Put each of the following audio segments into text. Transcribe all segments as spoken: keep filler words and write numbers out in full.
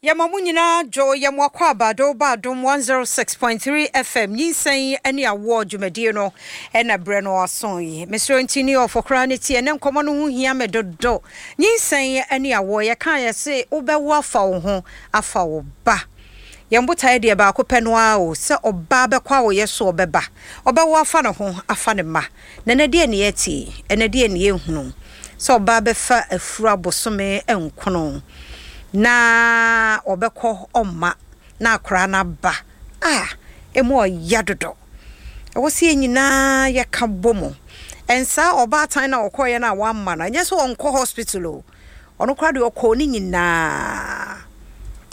Yɛma mo nyinaa dwo. Yɛmo akɔ abado ba Adom one oh six point three F M. Nyinsɛn ne awoɔ dwumadie no ɛna berɛ no aso yi. Mesrɛ nti ne ɔfɔ koraa ne tie ne nkɔmmɔ no ho hia me dodo. Nyinsɛn ne awoɔ, yɛka yɛ se wobɛwo afa wo ho, afa wo ba. Yɛn botaeɛ deɛ baako pɛ no ara o, sɛ ɔbaa bɛkɔ a wɔyɛ so ɔbɛba, ɔbɛwo afa ne ho, afa ne ma. Na ɛnɛ deɛ ne yɛte, ɛnɛ deɛ ne yɛhunu sɛ ɔbaa bɛfa afuru abosome nkono na ɔbɛkɔ ɔmma na akwaraa no aba a ɛmu ɔya dodo. Ɛwɔ sɛ yɛn nyinaa yɛka bɔ mu. Ɛnsaa ɔbaatan no a ɔkɔɔyɛ no a wamma no, ɛnyɛ sɛ ɔnkɔ hospital o, ɔno koraa deɛ ɔkɔɔ ne nyinaa.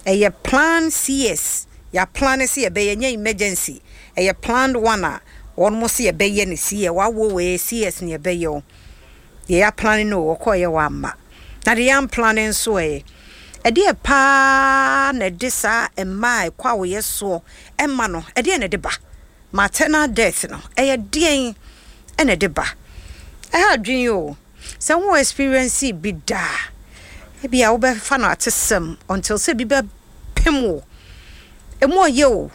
Ɛyɛ plan C S, yɛaplan sɛ yɛbɛyɛ, nyɛ emergency, ɛyɛ planned one a wɔn mo sɛ yɛbɛyɛ no C S. Wawo wei C S ne yɛbɛyɛ o, deɛ yɛaplan no ɔkɔɔyɛ wamma. Na deɛ yɛamplan nso, ɛyɛ ɛdeɛ paa na ɛde saa mmaa a ɛkɔ a wɔyɛ soɔ ɛma no, ɛdeɛ na ɛde ba maternal death no, ɛyɛ deɛn ɛna ɛde ba? Ɛha adwene o. Sɛ wo experience bi daa, ebi a wobɛfa no atesɛm until sɛ bi bɛpem wo. Emu ɔyɛ o,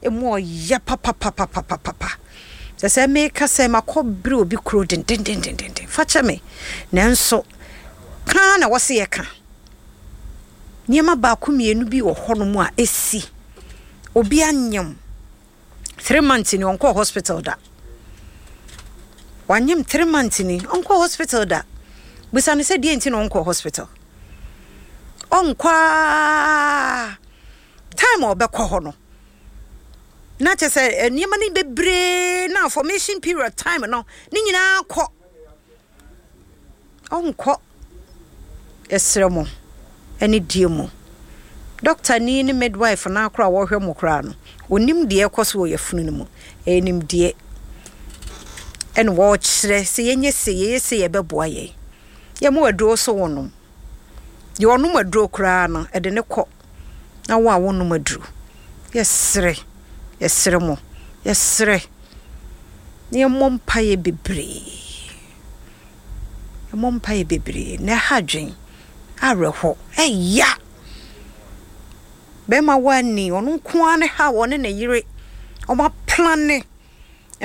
emu ɔyɛ papapapapapa. Sɛ sɛ meka sɛ makɔ bere obi kuro dendendendenden, fa kyɛ me, nanso kaa na wɔse yɛka nneɛma baako mmienu bi wɔ hɔnom a ɛsi. Obi anyam three months ni, ɔnkɔɔ hospital da. Wanyam three months ni, ɔnkɔɔ hospital da. Bisa no sɛ deɛ nti na ɔnkɔɔ hospital. Ɔnkɔ a, time a ɔbɛkɔ hɔ no na kyerɛ sɛ nneɛma no bebree na formation period time no ne nyinaa kɔ, ɔnkɔ. Yɛsrɛ mo ɛne die mu dɔkta ni ne midwife no akora a wɔhwɛ mo koraa no, onim deɛ ɛkɔ so wɔ yɛfunu no mu. Ɛyɛ nimdeɛ ɛna wɔrekyerɛ sɛ yɛnyɛ se, yɛyɛ se, yɛbɛboa yɛn. Yɛmo aduro so wɔnom deɛ ɔnom aduro koraa no ɛde ne kɔ na wo a wonom aduro, yɛsrɛ, yɛsrɛ mo, yɛsrɛ na yɛmmɔ mpaeɛ bebree, yɛmmɔ mpaeɛ bebree na ɛha adwen awerɛhɔ. Ɛya bɛrima woani, ɔno nko ara ne ha, ɔne ne yere ɔmo aplane.